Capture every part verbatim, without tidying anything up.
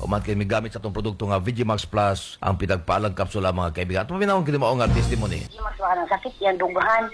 Uman kay migamit sa atong produkto nga VigiMax Plus ang pinagpalang kapsula mga kaibigan. At paminawon kini mao nga testimony. Max ba ang sakit yang dughan.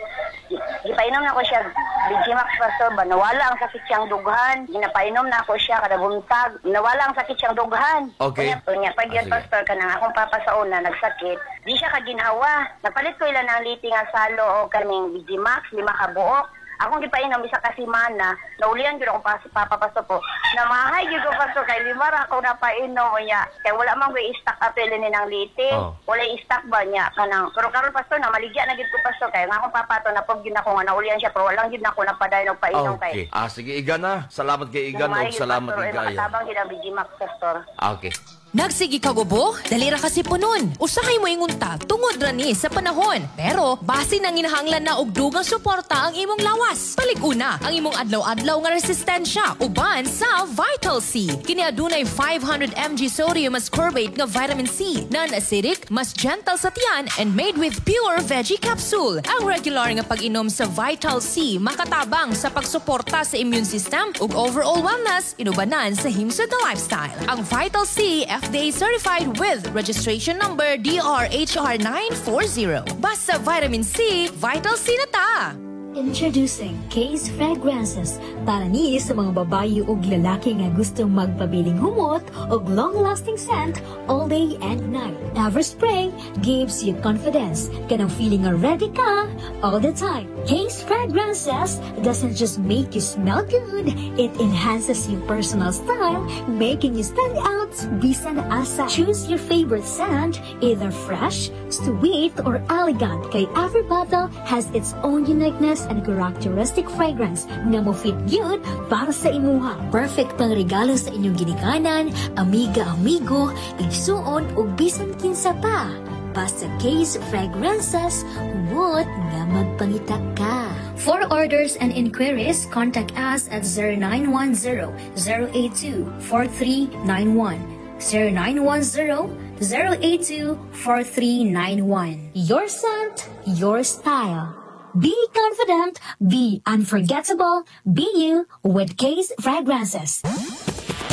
Gipainom na ko siya Bigimax pastor ba nawala ang sakit siyang dughan. Ginapainom na ako siya kada buntag. Nawala ang sakit siyang dughan. Okay. Unya, unya pag Ah, yun sige. pastor kanang akong papa sa una nagsakit. Di siya kaginhawa. Napalit ko ila ng liti nga salo o kaning Bigimax lima ka buok. Akong gipainom isa ka semana, naulian gyud akong pas, papa pastor po. Namahay gyud ko pastor kay lima ra ako napainom unya. Kay wala man ko i-stock ato ni ng liti. Oh. Wala i-stock ba niya kanang pero karon pastor na maligya na gyud ko pastor kay nga akong papa to napog gyud ako nga naulian siya pero walang gyud nako napadayon og painom kay. Okay. Ah, sige, Igan na. Salamat kay Igan Namahay ug gyud, salamat pastor, kay eh, Gaya. Makatabang gyud ang Bigimax pastor. Ah, Okay. Nagsigi ka gubo? Dali ra kasi punon. Usahay mo ingunta tungod ra ni sa panahon. Pero base nang inahanglan na og dugang suporta ang imong lawas. Palig-una ang imong adlaw-adlaw nga resistensya uban sa Vital C. Kini adunay five hundred milligrams sodium ascorbate nga vitamin C, non-acidic, mas gentle sa tiyan and made with pure veggie capsule. Ang regular nga pag-inom sa Vital C makatabang sa pagsuporta sa immune system ug overall wellness inubanan sa himsod na lifestyle. Ang Vital C F D A certified with registration number D R H R nine four zero. Basta vitamin C, Vital C na ta! Introducing Case Fragrances. Para ni sa mga babae ug lalaki nga gustong magpabiling humot og long-lasting scent all day and night. Every spray gives you confidence. Kanang feeling nga ready ka all the time. Case Fragrances doesn't just make you smell good, it enhances your personal style, making you stand out bisan asa. Choose your favorite scent, either fresh, sweet, or elegant. Kay every bottle has its own uniqueness and characteristic fragrance nga mo fit gyud para sa imuha. Perfect pang regalo sa inyong ginikanan, amiga, amigo, igsuon ug bisan kinsa pa. Basta Case Fragrances, humot nga magpangita ka. For orders and inquiries, contact us at zero nine one zero, zero eight two, four three nine one. zero nine one zero, zero eight two, four three nine one. Your scent, your style. Be confident, be unforgettable, be you with Case Fragrances.